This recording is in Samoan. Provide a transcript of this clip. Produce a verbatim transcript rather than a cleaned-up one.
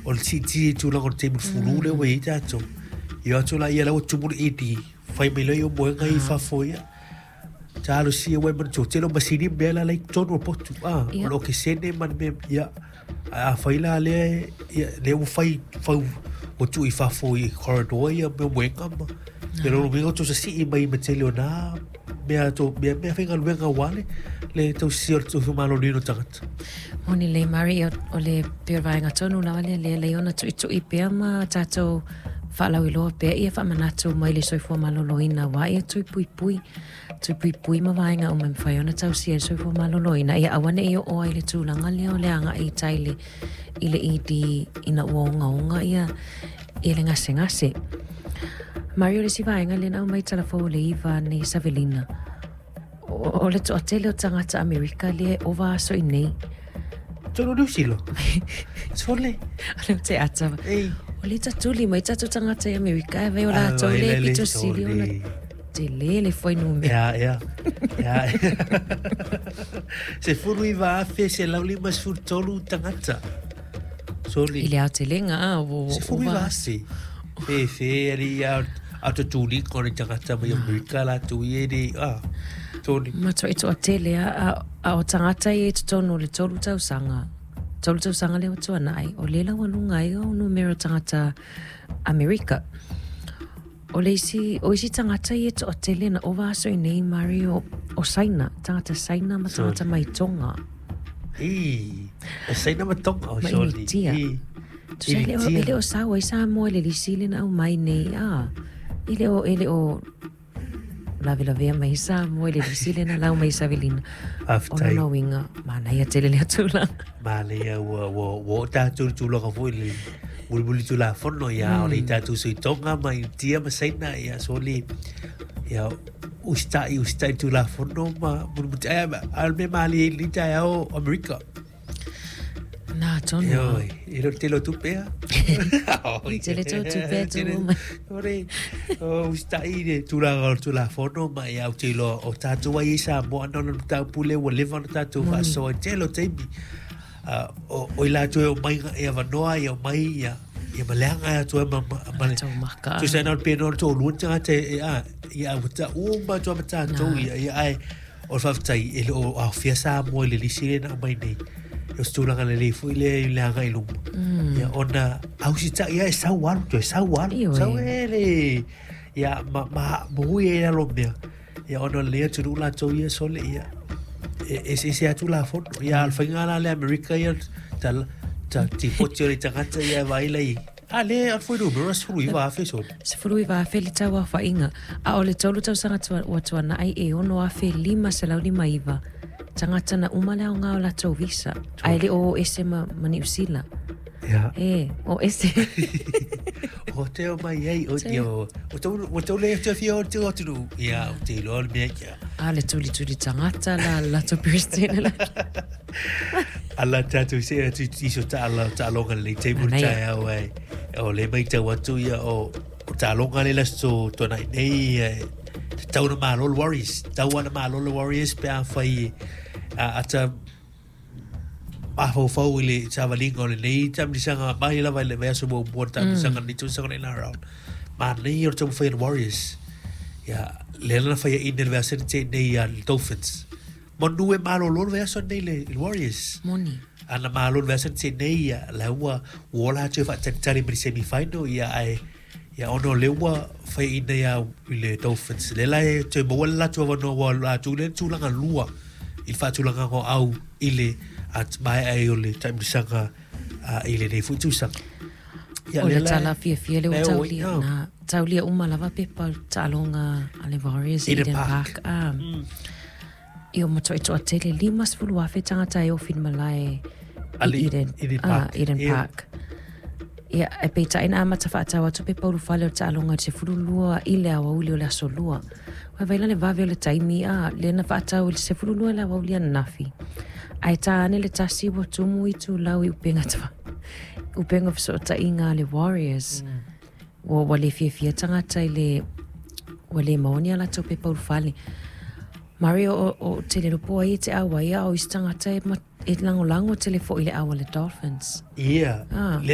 O le siitia i tulaga o le taimi o le fulu lea ua iai tatou. Ia o atu laia la ua tumu le E D, fai mai loa ia moega i fafo ia. Talosia ua e manatua, tele o masini ma mea la la i totonu o le potu. Ah, o le okesene ma le mea, ia. Ae afai la lea, ia, lea ua fai, fau, ua tuu i fafo i corridor ia mea moega ma. Ia lona uiga ua tausasii mai ma tele o nā mea tau, mea, mea faigaluega aua le, le tausia o le soifua maloloina o tagata. Moni lelei Mari, o le pei o le vaega tonu lava lea lea lelei ona tuitui pea ma tatou faalauiloa pea ia faamanatu mai le soifua maloloina aua ia tui puipui, tui puipui ma vaega uma e mafai ona tausia i le soifua maloloina ia aua ne'i oo ai i le tulaga lea o le agai i tai i le, i le E D ina ua ogaoga ia, ia le gasegase. Mari o le isi vaega lea na aumai talafou o le iva nei Savelina. O, o le toatele o tagata Amerika lea e ova aso i nei. Tonu New Zealand. Sole. O le te ata. Ei. O le tatuli mai tatou tagata i Amerika e vai o latou le pito sili ona tele le fuainumera. Ia, ia. Ia. Sefulu iva afe selau lima sefulu tolu tagata. Sole. I le aotelega, a, o, o, Sefulu iva afe. Fe, fe, ali ia, a tutuli ko le tagata mai Amerika latou ia e le, a, toli. Matuai toatele, a, a, a o tagata ia i totonu o le tolu tausaga. Tolu tausaga lea ua tuanai, o lea laualuga ai o numera o tagata Amerika. O le isi, o isi tagata ia toatele na ova aso i nei, Mari, o, o Saina, tagata Saina ma tagata mai Tonga. I, o Saina ma Tonga, o Ma soli. Initia. I, Tusa, e le o, Initia. e le o sau ai Samoa i le lisi le na aumai nei, a, e le o, e le o lavelavea mai Samoa i le lisi le na lau mai Savelina. O Faafetai. lona uiga, manaia tele lea tulaga. Manaia ua, ua, ua oo tatou i le tulaga foi le mulimuli tulafono ia, o le i tatou sui Tonga ma Initia ma Saina ia, soli, ia, usitai, usitai i tulafono ma mulimulitai. Ai, a o le mea malie i lenei taeao Amerika. Na tonu. Ioe, e le o le tele o tupe a. Tele tau tupe a Tele. tuu mai. Ore, o usitai i le tulaga o le tulafono ma ia, ou te iloa o tatou ai i Samoa ana ona mataupu lea ua leva ona tatou faasoa i tele o taimi. Ah, o, o i latou e omai e avanoa ia omai ia, ia ma leaga ai atu ai ma, ma, ma le Tau maka. Tusa ai na o le penoa o le toalua ni tagata e, e, a, ia ua ta uma atu ai ma tatou Na. ia, ia, ae o le faafetai e le o aofia Samoa i le lisi lea na aumai nei. E o se tulaga lelei foi lea i le agai i luma. Ia, ona ausitai ia e sau alu, toe sau alu. Ioe. Sau e le, ia, ma, ma, ma ui ai lalo mea. Ia, ona o lenei atunuu latou ia sole, ia, e, eseese atu lafono. Ia, a o le faiga la le Amerika ia, ta, ta tipoti o le tagata ia e vaai lai. A le, o le fuainumera sefulu iva afe sole. Sefulu iva afe le tau aofaiga. A o le tolu tausaga tua, ua tuanai e ono afe lima selau lima iva. Tagata na uma le aoga o latou visa. Ae le o o ese ma, ma Niu Sila. Ia. E, o ese. O te o mai ai, o Te. te o, o tau, o tau le te fia o te o atunuu. Ia, o te iloa le mea ia. A le tulituli tagata la latou Peresetene la. Ala tatou se atu i so taala, taaloga lelei taimi o le Manaia. taeao ai. O le matau atu ia o, o taaloga le laso tuanai nei, e, te tau na malo le Warriors. Tau ana malo le Warriors pe afai e, a, ata mafaufau i le savaliga o lenei taamilisga mai lava i le vaiaso muamua le taamilisga lenei tausaga le N R L. Manaia o le taumafai a le Warriors. Ia, lea na faiaina i le vaiaso na tea nei a le Dolphins. Manu e malolo le vaiaso nei le, le Warriors. Moni. Ana malo le vaiaso na tea nei ia, la ua, ua ola atu e faatalitali ma le semi-final, ia, ae, ia, ona o lea ua faiaina ia i le Dolphins. Le la e toe maua le latou avanoa ua latou lea na tulaga lua i le faatulagaga o au i le at mai ai o le taimilisga, a, i lenei foi tausaga. Ia, O le lea la e- tala fiafia le ua lea ua- taulia oh. na, taulia uma lava pepa o le taaloga a le Warriors i Eden Eden Park. Park. Ah. Ia, matua toatele lima sefulu afe tagata e ofi i le malae i Ali- Eden, Eden ah, Park. Eden Ia. Park. Ia, e peitai na amata faatau atu pepa ulufale o le taaloga i le sefulu lua i le aoauli o le aso lua. Ua vaai la le vave o le taimi, a, lea na faatau i le sefulu lua i le aoauli ananafi. Ae tā ane le tasi ua tumu i tulau i upega tafa. Upega fesootaiga a le Warriors. Ua, ua le fiafia tagata i le, ua le maua ni a latou pepa ulufale. Mario, o, o te le lopo ai e te au ai, a o isi tagata e ma, e lagolago tele foi i le au a le Dolphins. Ia, Ah.